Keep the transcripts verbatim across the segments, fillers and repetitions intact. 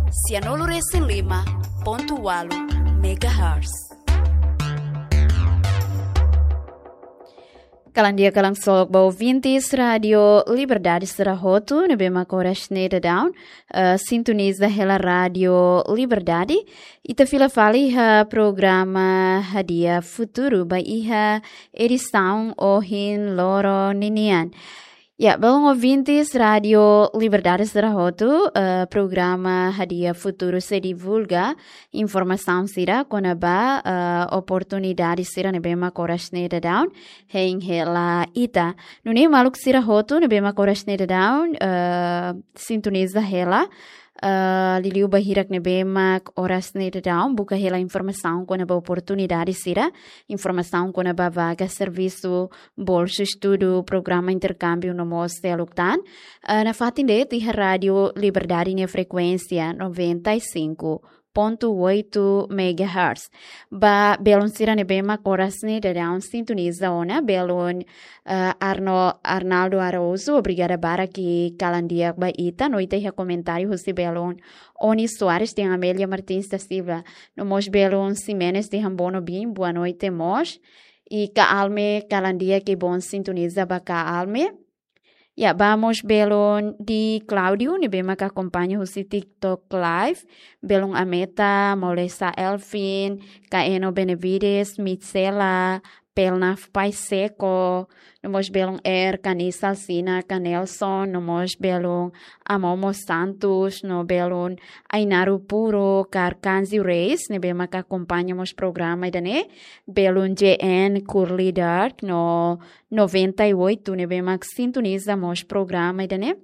Sianulu resin lima pontu walu megahertz. Kalan di'ak, kalan solok ba ouvintes Rádio Liberdade sira hotu ne'ebé mak oras ne'e daudaun, eh, sintoniza hela Rádio Liberdade. Ita fila fali iha programa Hadi'a Futuru ba iha edisaun ohin loron ninian. Ya, belun ouvintes Rádio Liberdade sira hotu, eh, programa Hadi'a Futuru sei divulga informasaun sira kona-ba, eh, oportunidade sira ne'ebé mak oras ne'e daudaun hein hela ita. Nune'e maluk sira hotu ne'ebé mak oras ne'e daudaun, eh, sintoniza hela, eh, liuliu ba hirak ne'ebé mak oras ne'e daudaun buka hela informasaun kona-ba oportunidade sira, informasaun kona-ba vaga servisu, bolsu estudu, programa interkámbiu no mós seluk tan. Eh, nafatin de'it iha Rádio Liberdade nia frekuénsia noventa e cinco ponto oito megahertz. Ba belun sira ne'ebé mak oras ne'e daudaun sintoniza ona, belun, eh, Arno-, Arnaldo Araújo, obrigada barak kalan di'ak ba ita. No ita iha komentáriu husi belun Oni Soares dehan Amélia Martins da Silva. No mós belun Ximenes dehan Bono bin, boa noite mós. I Ka Alme, kalan di'ak i bom sintoniza ba Ka Alme. Ya, ba mós belun Di Cláudio, ne'ebé mak akompaña husi TikTok Live. Belun Ameta, Molesa Elvin, Ka Eno Benevides, Mitsela, Pelnaf Paiseko, no mós belun Er, Kani Salsina, Ka Nelson, no mós belun Amomo Santos, no belun Ainaru Puro, Ka Arkanzio Reis, ne'ebé mak akompaña mós programa ida-ne'e, belun J N Curly Dark, no noventa e oito, ne'ebé mak sintoniza mós programa ida-ne'e.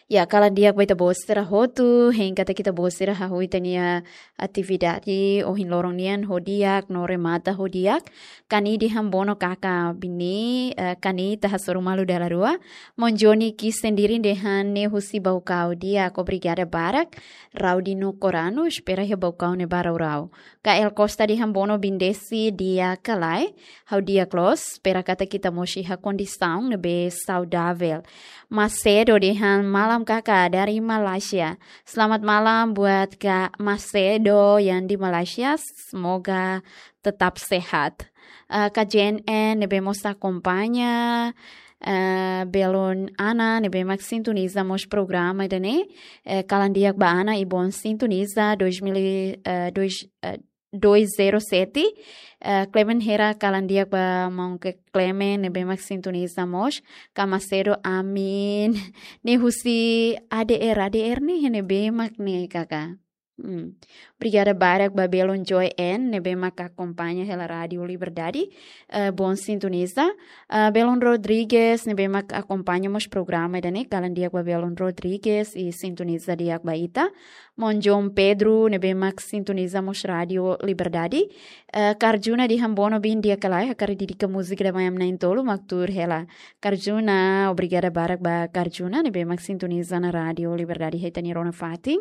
Ya, kalan di'ak ba ita-boot sira hotu, hein katak ita-boot sira hahú ita-nia atividade ohin loron nian ho di'ak, no remata ho di'ak. Kani dehan Bono kaka bini, eh, Kani ita hasoru malu dala rua. Maun Joni Ki Sendiri dehan ne'e husi Baucau di'ak, obrigada barak. Raudino Corano, espera iha Baucau ne'e ba rau-rau. Ka El Costa dehan Bono bin Desi di'ak ka lae, ha'u di'ak loos, espera katak ita mós iha kondisaun ne'ebé saudavel. Macedo dehan malam kaka dari Malaysia. Selamat malam buat Kak Macedo yang di Malaysia, semoga tetap sehat. Eh, Ka Jen En ne'ebé mós akompaña, eh, belun Ana ne'ebé mak sintoniza mós programa ida-ne'e, eh, kalan di'ak ba Ana i bom sintoniza dois mil, eh, dois, eh, dois zero sete, eh, Clement Hera kalan di'ak ba maun Ke-, Clement ne'ebé mak sintoniza mós, Ka Macedo amin, ne'e husi A D R, A D R ne'e iha ne'ebé mak ne'e kaka. Hmm. Obrigada barak ba belun Joy N, ne'ebé mak akompaña hela Rádio Liberdade, eh, bom sintoniza. Eh, belun Rodrigues, ne'ebé mak akompaña mós programa ida-ne'e, kalan di'ak ba belun Rodrigues, i sintoniza di'ak ba ita. Maun João Pedro, ne'ebé mak sintoniza mós Rádio Liberdade. Eh, Ka Arjuna dehan Bono bin di'ak ka lae, hakarak dedika múzika ida mai ami na'in-tolu mak tuur hela. Ka Arjuna, obrigada barak ba Ka Arjuna, ne'ebé mak sintoniza ona Rádio Liberdade iha ita-nia rona fatin.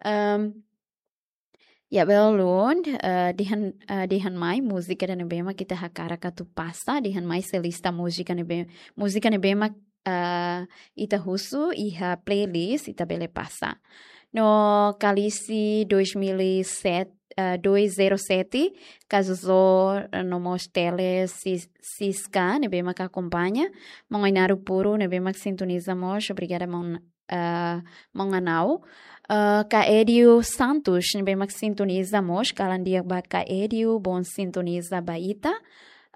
Ehm, ya, belun, eh, dehan, eh, dehan mai múzika ida ne'ebé mak ita hakarak atu pasa, dehan mai sei lista múzika ne'ebé, múzika ne'ebé mak, eh, ita husu iha playlist, ita bele pasa. No Kalisi dois mil e sete, eh, dois zero sete, Ka Zozó, eh, no mós Tele Sis-, Siska, ne'ebé mak akompaña. Maun Ainaru Puro, ne'ebé mak sintoniza mós, obrigada maun, eh, maun Anau. Eh, Ka Edio Santos, ne'ebé mak sintoniza mós, kalan di'ak ba Ka Edio, bom sintoniza ba ita.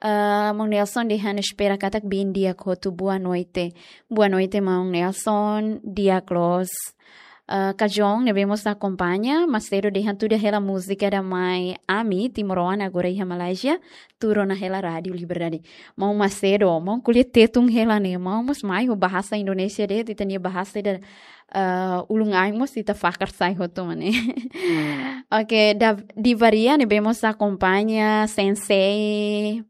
Eh, maun Nelson dehan espera katak bin di'ak hotu, boa noite. Boa noite, maun Nelson, di'ak loos. Eh, Ka John, ne'ebé mós akompaña, Macedo dehan tuda hela múzika ida mai ami, timoroan agora iha Malaysia, tuur ona hela Rádio Liberdade. Maun Macedo, maun ko'alia Tetun hela ne'e, maun mós mai ho bahasa Indonesia de'it, ita-nia bahasa ida, eh, ulun-ain mós ita fakar sai hotu mak ne'e. Hmm. Oke, Dav-, Divaria ne'ebé mós akompaña, Sensei.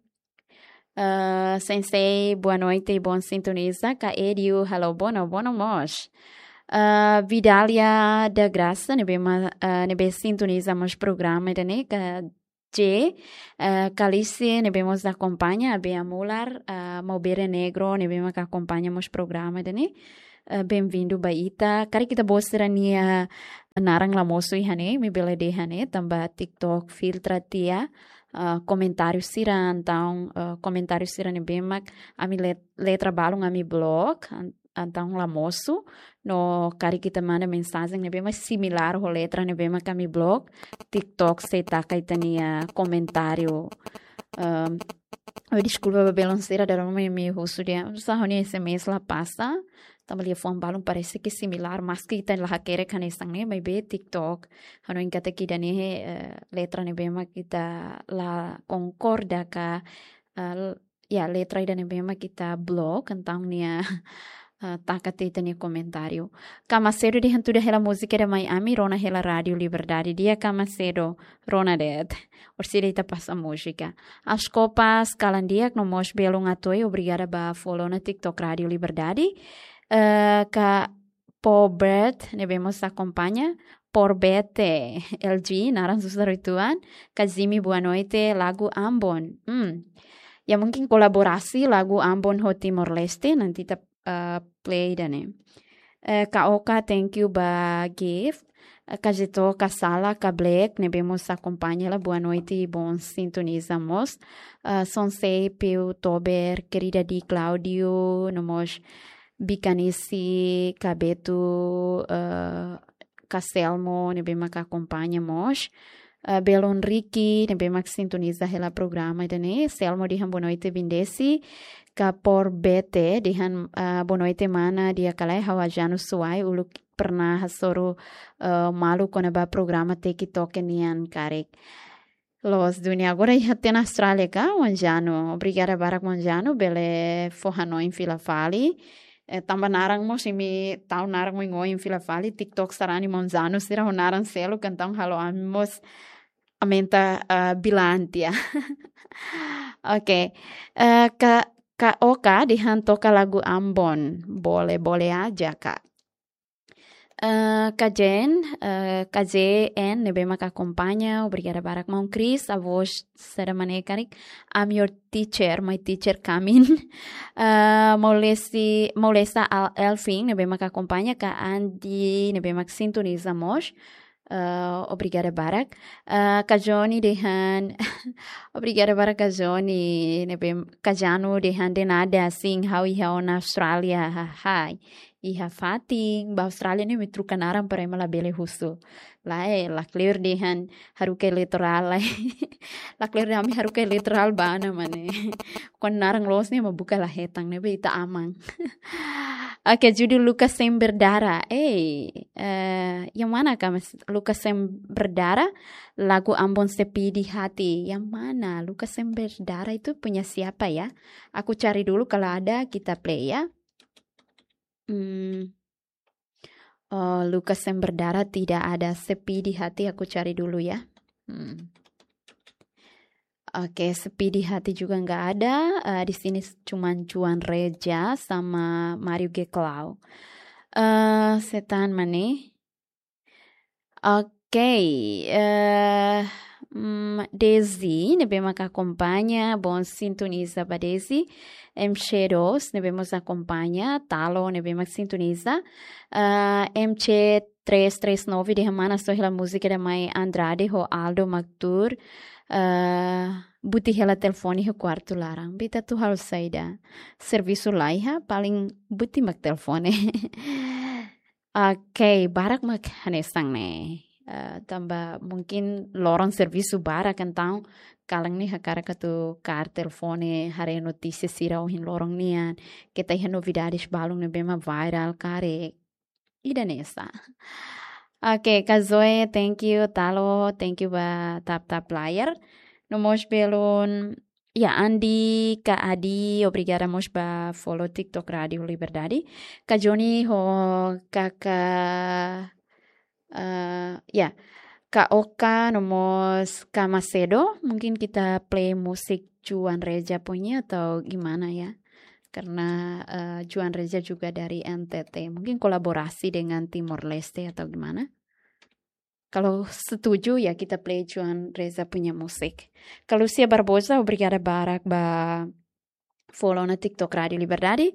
Eh, Sensei, boa noite, bom sintoniza. Ka Edio, halo Bono, Bono mós. Eh, Vidália da Graça, ne'ebé ma-, eh, ne'ebé sintoniza mós programa ida-ne'e, Ka J, eh, Kalisi, ne'ebé mós akompaña, Abea Mular, eh, Maubere Negro, ne'ebé mak akompaña mós programa ida-ne'e. Eh, bem-vindo ba ita. Karik ita-boot sira-nia naran la mosu iha ne'e, imi bele dehan ne'e, tanba TikTok filtra tiha, eh, komentáriu sira, entaun, eh, komentáriu sira ne'ebé mak ami let-, letra balun ami blok, an-, entaun la mosu, no karik ita manda mensajen ne'ebé mak similár ho letra ne'ebé mak ami blok, TikTok sei taka ita-nia komentáriu. Ehm, oh, deskulpa ba belun sira, dala ruma imi husu dehan, sá, ha'u-nia S M S la pasa, tanba liafuan balun parese ke similár, maski ita la hakerek hanesan ne'e, maibé TikTok hanoin katak ida-ne'e, eh, letra ne'ebé mak ita la konkorda ka, eh, ya, letra ida ne'ebé mak ita blok, entaun nia, eh, taka tiha ita-nia komentáriu. Kama Sedo dehan tuda hela múzika ida mai ami, rona hela Rádiu Liberdade. Di'ak Kama Sedo, rona de'it. Orsida ita pasa múzika. As Copas, kalan di'ak, no mós belun Atoi, obrigada ba follow ona TikTok Rádiu Liberdade. Eh, ka Pobert, ne'ebé mós akompaña, Porbete, L G, naran susar uitoan, ka Zimi, boa noite, lagu Ambon. Hmm. Ya, mungkin kolaborasi lagu Ambon ho Timor-Leste, nanti ita, eh, play ida-ne'e. Eh, ka Oka, thank you ba gift. Eh, ka Jeto, ka Sala, ka Black, ne'ebé mós akompaña hela, boa noite, bom sintoniza mós. Eh, Sonsei, Piu, Tober, querida di Claudio, no mós Bikanisi, ka Betu, eh, ka Selmo, ne'ebé mak akompaña mós. Eh, belun Ricky, ne'ebé mak sintoniza hela programa ida-ne'e. Selmo dehan boa noite, Bindesi. Ka Porbete, dehan, eh, boa noite, mana, di'ak ka lae, ha'u Janu Suai, uluk pernah hasoru, eh, malu kona-ba programa TikTok nian karik. Loos duni, agora iha tiha ona Austrália ka, Manjano. Obrigada barak Manjano, bele fó hanoin fila fali. Eh, tanba naran mós imi tau naran mós ohin fila fali, TikTok sarani Manjano sira ho naran seluk, entaun halo ami mós aumenta, eh, bilantia. Oke. Eh, ka, ka Oka dehan toka lagu Ambon. Boleh, boleh aja, Kak. Eh, ka Jen, eh, ka J N, ne'ebé mak akompaña, obrigada barak maun Chris, a voz será maneira karik, I'm your teacher, my teacher coming. Eh, Maulesi, Maulesa Al-, Elfin, ne'ebé mak akompaña, ka Andy, ne'ebé mak sintoniza mós. Eh, obrigada barak. Eh, ka Johnny dehan, obrigada barak ka Johnny, ne'ebé ka Janu dehan de nada, sin, ha'u iha ona Austrália, ha, hai. Iha fatin, ba Austrália ne'e imi troka naran para ema labele husu. Lae, lakleur dehan haruka eleitorál, lae. Lakleur dehan ami haruka eleitorál ba ne'e, mane. Kuandu naran loos ne'e ema buka la hetan, ne'ebé ita aman. Oke, judul Luka Sem Berdara. Ei, eh, yang mana, Kak, Mas? Luka Sem Berdara, lagu Ambon Sepi di Hati. Yang mana? Luka Sem Berdara itu punya siapa, ya? Aku cari dulu, kalau ada kita play, ya. Hmm. Oh, Luka Sem Berdara tidak ada, Sepi di Hati, aku cari dulu ya. Hmm. Oke, Sepi di Hati juga nggak ada. Eh, di sini s-, cuman Juan Reja sama Mario Geklau. Eh, Setan Mane. Oke, eh, mm, Desi, ne'ebé maka akompaña, bom sintoniza ba Desi. M C dois, ne'ebé mós akompaña, Talo, ne'ebé mak sintoniza. Eh, M C três três nove, dehan mana, soe hela múzika ida mai Andrade ho Aldo mak tuur. Eh, buti hela telefone iha kuartu laran. Be ita atu halo saida? Servisu laiha, paling buti mak telefone. Oke, barak mak hanesan ne'e. Eh, tanba mungkin loron servisu barak, entaun kalan ne'e hakarak atu kaer telefone, haree notísia sira ohin loron nian, keta iha novidades balun ne'ebé mak viral karik. Ida-ne'e sá. Oke, Kak Zoe, thank you, Talo, thank you ba tap-tap layar. No mós belun, ya, Andi, Kak Adi, obrigada mós ba follow TikTok Rádiu Liberdade. Kak Joni ho Kaka, eh, ya, Kak Oka, no mós Kak Macedo. Mungkin kita play musik Juan Reja punya atau gimana ya? Karena, eh, Juan Reja juga dari N T T. Mungkin kolaborasi dengan Timor Leste atau gimana? Kalau setuju ya kita play Juan Reja punya musik. Kak Lucia Barbosa, obrigada barak ba follow ona TikTok Rádiu Liberdade.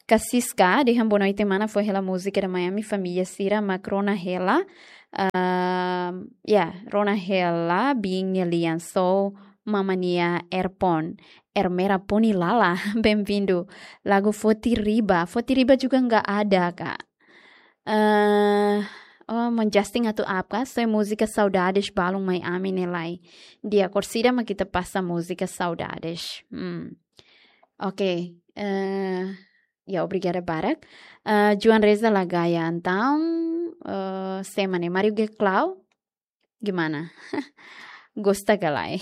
Kak Siska, dehan boa noite mana, fó hela múzika ida mai ami família sira mak rona hela. Ehm, ya, rona hela biin nia lian, só mama nia earphone. Ermera poni lala, bem-vindo. Lagu Foti Riba. Foti Riba juga nggak ada, Kak. Eh, oh, maun Justin atu apa? Só múzika Saudades balun mai ami ne'e lai. Di'ak, orsida mak ita pasa múzika Saudades. Hmm. Oke, eh, ya, obrigada barak. Eh, Joan Reza la gaya, entaun, eh, sé mak ne'e, Mario G Clau? Gimana? Gosta ka lae?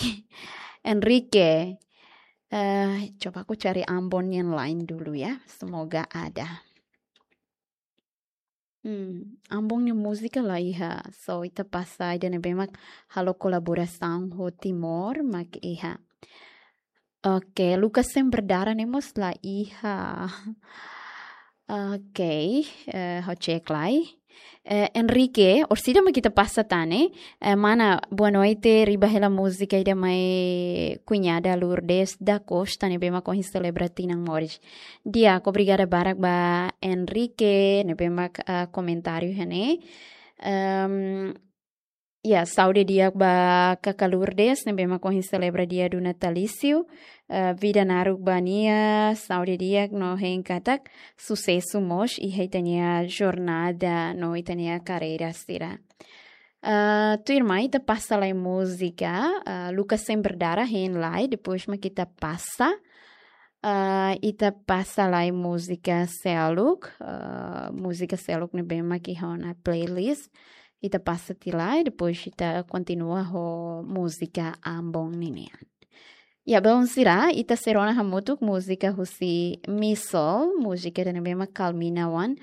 Enrique, eh, coba aku cari Ambon yang lain dulu ya. Semoga ada. Hmm, Ambon nia múzika la iha. Só ita pasa ida ne'ebé mak halo kolaborasaun ho Timor mak iha. Oke, Luka Sem Berdarah ne'e mós la iha. Oke, eh, ha'u cek lai. Eh, Enrique, orsida mak ita pasa tan ne'e? Eh, mana, boa noite, riba hela múzika ida mai Cunhada Lourdes da Costa ne'ebé mak ohin selebra tinan moris. Di'ak, obrigada barak ba Enrique ne'ebé mak, ah, komentáriu iha ne'e. Ehm, ya, saúde di'ak ba kaka Lourdes ne'ebé mak ohin selebra dia do natalício. Eh, vida naruk ba nia, saúde di'ak no hein katak susesu mós iha ita-nia jornada no ita-nia karreira sira. Eh, tuirmai ita pasa lai múzika, eh, Luka Sem Berdarah hein lai, depois mak ita pasa, eh, ita pasa lai múzika seluk, eh, múzika seluk ne'ebé mak iha ona playlist. Ita pasa tiha lai, depois ita kontinua ho múzika Ambon ninian. Ya, belun sira, ita sei rona hamutuk múzika husi Missile, múzika ida ne'ebé mak Carmina wan,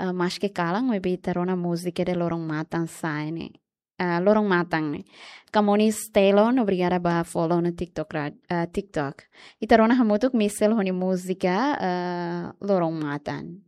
eh, maske kalan, maibé ita rona múzika ida loron matan sa'e ne'e. Eh, loron matan ne'e. Kamonis Telon, obrigada ba follow no TikTok ra-, eh, TikTok. Ita rona hamutuk Missile ho nia múzika, eh, loron matan.